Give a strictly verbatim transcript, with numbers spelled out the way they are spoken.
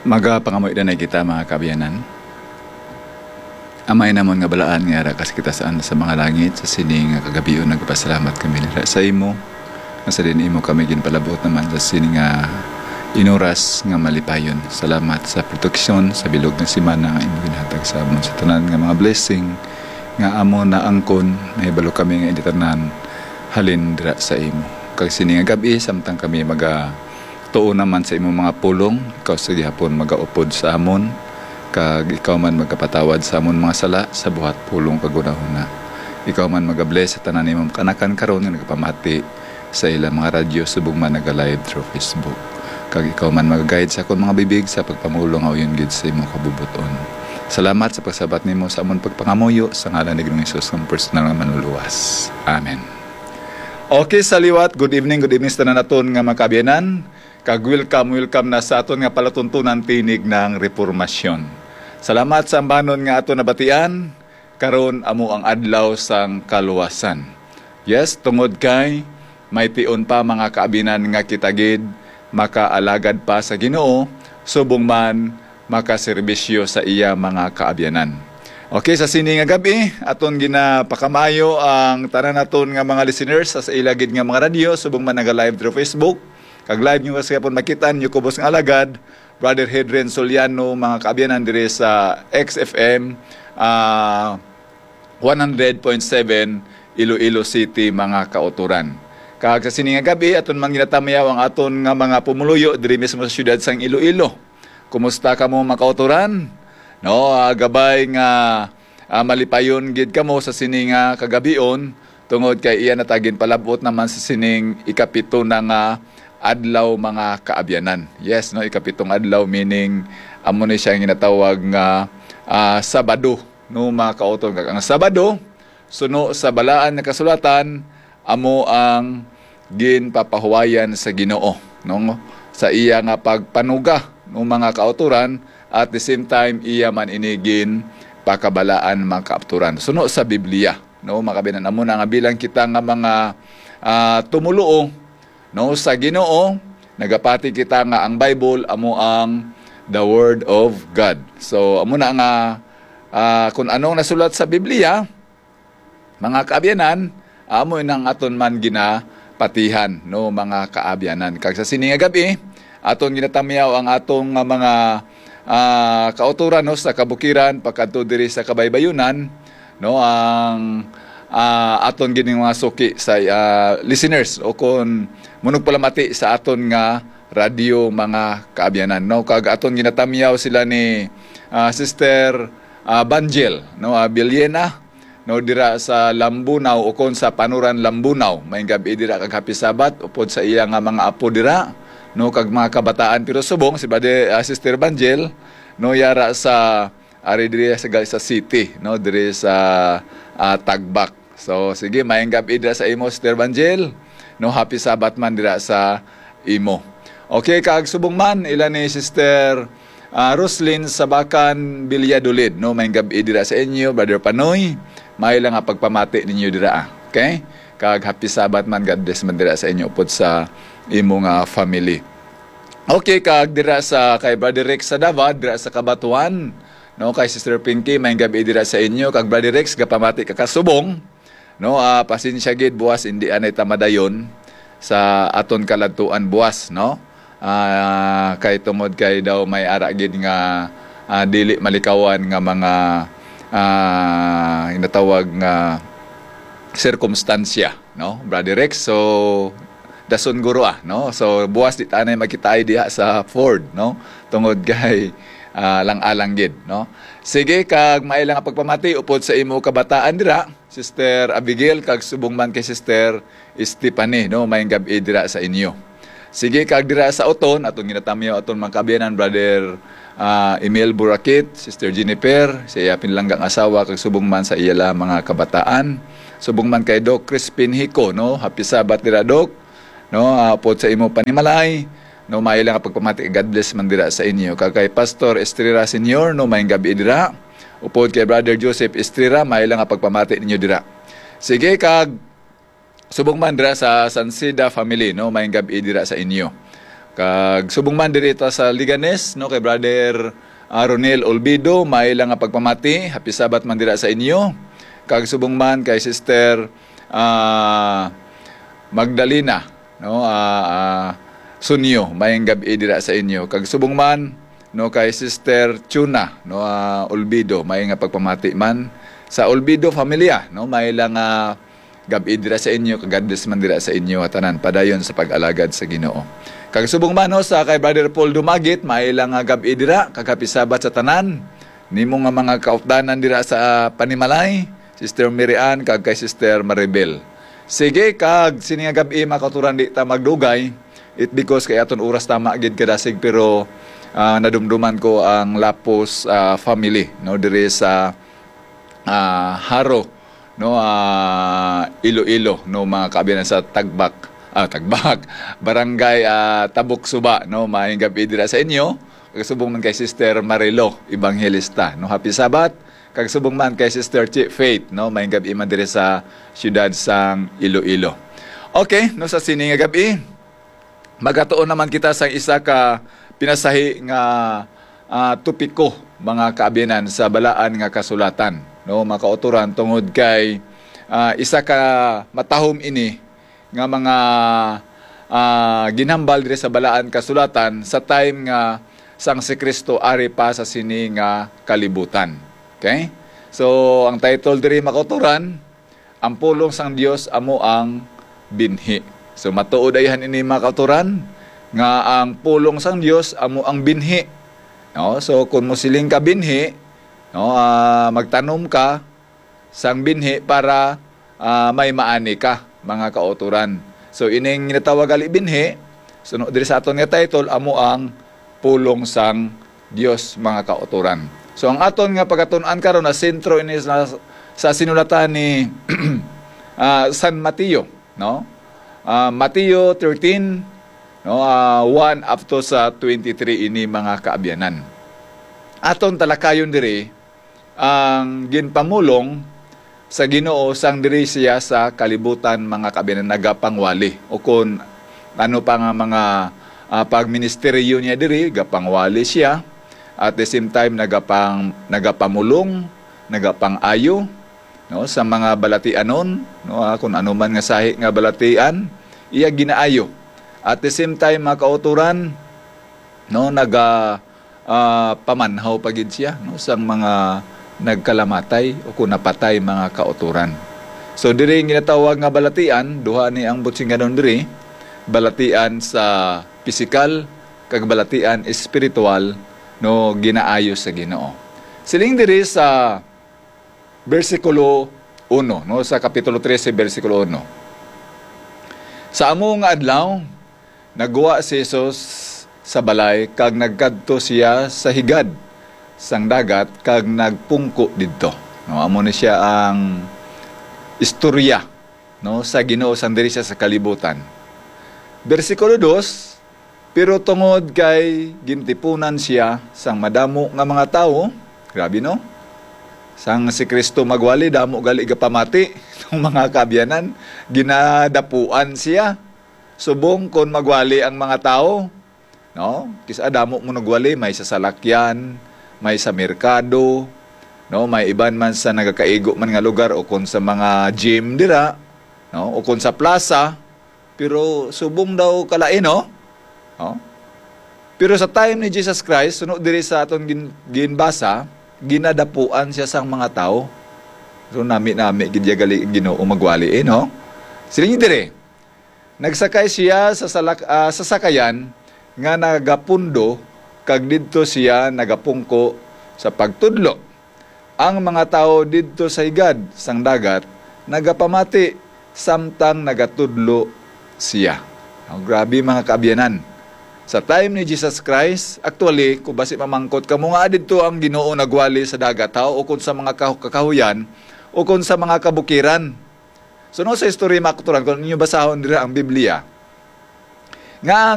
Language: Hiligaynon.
Magapangamuyo na kita, mga kaabyanan. Amay namon nga balaan nga ara ka sa kitaas-an sa mga langit, sa sini nga kagabhion nagpasalamat kami dira sa imo, nga sa diin imo kami ginpalabot naman sa sini nga inuras nga malipayon. Salamat sa proteksyon sa bilog nga semana nga imo ginhatag sa amon, sa tanan nga mga blessing nga amo naangkon. Mahibalo kami nga ini tanan halin dira sa imo. Kag sini nga gab-i, samtang kami maga tuo naman sa imong mga pulong, ikaw sa gihapon magaupod sa amon, kag ikaw man magapatawad sa amon mga sala sa buhat, pulong, kag hunahuna. Ikaw man magabless sa tanan nimong kaanakan karon nga nagapamati sa ilang mga radyo subong man naga-live through Facebook. Kag ikaw man magaguide sa akon mga bibig sa pagpamulong nga uyon gid sa imong kabubot-on. Salamat sa pagsabat nimo sa amon pagpangamuyo, sa ngalan ni Ginoong Jesus nga personal nga Manluluwas. Amen. Okay, sa liwat, good evening, good evening sa tanan naton nga mga kaabyanan. Kag welcome, welcome na sa aton nga palatuntunan, Tinig ng Reformasyon. Salamat sa ambanon nga aton nabatian. Karon amo ang adlaw sang kaluwasan. Yes, tungod kay may tion pa, mga kaabyanan, nga kita gid makaalagad pa sa Ginoo, subong man makaserbisyo sa iya mga kaabyanan. Okay, sa sini nga gab-i, aton ginapakamayo ang tanan naton nga mga listeners sa, sa ila gid nga mga radyo, subong man naga-live through Facebook. Kag live nyo sa gihapon makita ninyo, kubos nga alagad, Brother Hedren Soliano, mga kaabyanan diri sa X F M, ah, one hundred point seven Iloilo City, mga kauturan. Kag sa sini nga gab-i, aton man ginatamyaw ang aton nga mga pumuluyo diri mismo sa siyudad sang Iloilo. Kumusta kamo, mga kauturan? No, ah, gabay nga, ah, malipayon gid kamo sa sini nga kagabhion, tungod kay iya na ta ginpalab-ot naman sa sining ikapito na nga adlaw, mga kaabyanan. Yes, no, ikapitong adlaw, meaning amo ni siya ang ginatawag nga, ah, Sabado, no, mga kauturan. Kag ang Sabado, suno sa Balaan nga Kasulatan, amo ang ginpapahuwayan sa Ginoo, no, sa iya nga pagpanuga, no, mga kauturan, at the same time iya man ini ginpakabalaan, mga kauturan, suno sa Biblia, no, mga kaabyanan. Amo na nga bilang kita nga mga, ah, tumoluo, no, sa Ginoo, nagapati kita nga ang Bible amo ang the Word of God. So amo na nga, ah, kung anong nasulat sa Biblia, mga kaabyanan, amo nang aton man ginapatihan, no, mga kaabyanan. Kag sa sini nga gab-i, aton ginatamyaw ang atong nga mga, ah, kauturan, no, sa kabukiran pakadto diri sa kabaybayunan, no, ang, ah, aton gid nga mga suki sa, ah, listeners o kon manugpalamati sa aton nga radyo, mga kaabyanan, no. Kag aton ginatamyaw sila ni, ah, Sister, ah, Banjel, no, ah, Biliena, no, dira sa Lambunao o kon sa Panuran, Lambunao. Maayong gab-i dira kag happy Sabbath upod sa iya nga mga apo dira, no, kag mga kabataan. Pero subong si Bade-, ah, Sister Banjel, no, yara sa, ari diri sa, sa city, no, diri sa, ah, Tagbak. So sige, maayong gab-i dira sa imo, Sister Banjel, no, happy Sabbath man dira sa imo. Okay, kag subong man ila ni Sister, ah, Roslyn Sabakan Villadolid, no, maayong gab-i dira sa inyo, Brother Panoy. Maayo lang nga pagpamati ninyo dira, ah. Okay? Kag happy Sabbath man, God bless man dira sa inyo upod sa imo nga family. Okay, kag dira sa kay Brother Rex sa Davao, dira sa Cabatuan, no, kay Sister Pinky, maayong gab-i dira sa inyo. Kag Brother Rex, gapamati ka kasubong, no, ah, pasensya gid, buwas indi anay ta madayon sa aton kaladtuan buwas, no. Ah, kay tungod kay daw may ara gid nga, ah, dili malikawan nga mga, ah, ginatawag nga sirkumstansya, no, Brother Rex. So dason guro, ah, no. So buwas di tanay magkitaay diha sa Ford, no, tungod kay, ah, lang-alang gid, no. Sige, kag maayo lang nga pagpamati upod sa imo kabataan dira, Sister Abigail, kag subong man kay Sister Stephanie, no, maayong gab-i dira sa inyo. Sige, kag dira sa Oton, aton ginatamyaw aton mga kaabyanan, Brother, ah, Emil Burakit, Sister Jennifer, sa iya pinalanggang asawa, kag subong man sa iya la mga kabataan. Subong man kay Doc Crispin Hico, no, happy Sabbath dira, Doc, no, ah, upod sa imo panimalay, no, maayo lang nga pagpamati, God bless man dira sa inyo. Kag kay Pastor Estrera Senior, no, maayong gab-i dira. Upod kay Brother Joseph Estrera, maayo lang nga pagpamati ninyo dira. Sige, kag subong man dira sa Sanceda family, no, maayong gab-i dira sa inyo. Kag subong man diri ta sa Leganes, no, kay Brother, ah, Ronel Olbido, may lang nga pagpamati, happy Sabbath man dira sa inyo. Kag subong man kay Sister, ah, Magdalena, no, ah, ah, Sunyo, mayang gab-i dira sa inyo. Kag subong man, no, kay Sister Chuna, no, ah, Olbido, may nga pagpamati man sa Olbido familia, no, may lang, ah, gab-i dira sa inyo, kag God bless man dira sa inyo, ah, tanan, padayon sa pag-alagad sa Ginoo. Kag subong man, no, sa kay Brother Paul Dumagit, may lang nga gab-i dira, kag happy Sabbath sa tanan. Nimo nga mga kaupdanan dira sa, ah, Panimalay, Sister Mary Ann, kag kay Sister Maribel. Sige, kag sini nga gab-i, mga kauturan, di ta magdugay. It because kay aton oras tama gid kadasig, pero, ah, nadumduman ko ang Lapos, ah, family, no, diri sa, ah, Jaro, no, ah, Iloilo, no, mga kaabyanan sa Tagbak, ah, Tagbak, Barangay, ah, Tabok Suba, no, maayong gab-i dira sa inyo. Kag subong man kay Sister Marilo Evangelista, no, happy Sabbath. Kag subong man kay Sister Chi Faith, no, maayong gab-i man diri sa siyudad sang Iloilo. Okay, no, sa sini nga gab-i, magatuon naman kita sa isa ka pinasahi nga, ah, topiko, mga kaabyanan, sa Balaan nga Kasulatan, no, mga kauturan, tungod kay, ah, isa ka matahom ini nga mga, ah, ginhambal diri sa Balaan Kasulatan sa time nga sang si Cristo ari pa sa sini nga kalibutan. Okay? So, ang title diri, mga kauturan, Ang Pulong sang Dios Amo ang Binhi. So, matuod ayhan ini, mga kauturan, nga ang pulong sang Dios amo ang binhi. No? So, kung mosiling ka binhi, no, ah, magtanom ka sang binhi para, ah, may maani ka, mga kauturan. So, ining ginatawag gali binhi, suno diri sa aton nga title, amo ang pulong sang Dios, mga kauturan. So, ang aton nga pagatun-an karon na sentro ini sa, sa sinulatan ni, ah, San Mateo, no? Ah, Mateo thirteen, no, ah, one up to sa twenty-three ini, mga kaabyanan. Aton talakayon diri ang ginpamulong sa Ginoo sang diri siya sa kalibutan, mga kaabyanan, nagapangwali, o kon ano pa nga mga, ah, pagministeryo niya diri, gapangwali siya. At the same time, nagapang-, nagapamulong, nagapang-ayo, no, sa mga balatianon, no, ah, kung ano man nga sahi nga balatian, iya ginaayo. At the same time, mga kauturan, no, naga, ah, pamanhaw pa gid siya, no, sang mga nagkalamatay o kung napatay, mga kauturan. So, diri ang ginatawag nga balatian, duha ni ang butsinganon diri, balatian sa pisikal kag balatian espiritual, no, ginaayo sa Ginoo. Siling diri sa bersikulo uno, no, sa kapitulo trese, bersikulo uno. Sa amo nga adlaw, nagwa si Jesus sa balay kag nagkadto siya sa higad sang dagat kag nagpungko didto. No, amo ni siya ang istorya, no, sa Ginoo sang diri siya sa kalibutan. Bersikulo dos, pero tungod kay gintipunan siya sang madamo nga mga tawo, grabe, no? Sang si Cristo magwali, damo gali gapamati ng mga kaabyanan, ginadapuan siya. Subong kon magwali ang mga tawo, no? Kis-a damo mo nagwali, may sa salakyan, may sa merkado, no? May iban man sa nagakaigo man nga lugar o kon sa mga gym dira, no? O kon sa plaza, pero subong daw kalain, no? No? Pero sa time ni Jesus Christ, suno diri sa aton gin-, ginbasa, ginadapuan siya sang mga tawo. So, nami-nami gid ya gali ang Ginoo magwali, eh, no? Siling diri, nagsakay siya sa salak-, ah, sa sakayan nga nagapundo, kag didto siya nagapungko sa pagtudlo. Ang mga tawo didto sa higad sang dagat nagapamati samtang nagatudlo siya. Oh, grabe, mga kaabyanan. Sa time ni Jesus Christ, actually, kung basi mamangkot kamo nga didto ang Ginoo nagwali sa dagat, ha, o kung sa mga kahu-, kakahuyan, o kung sa mga kabukiran. So, no, sa istorya, mga kauturan, kung inyo basahon dira ang Biblia, nga ang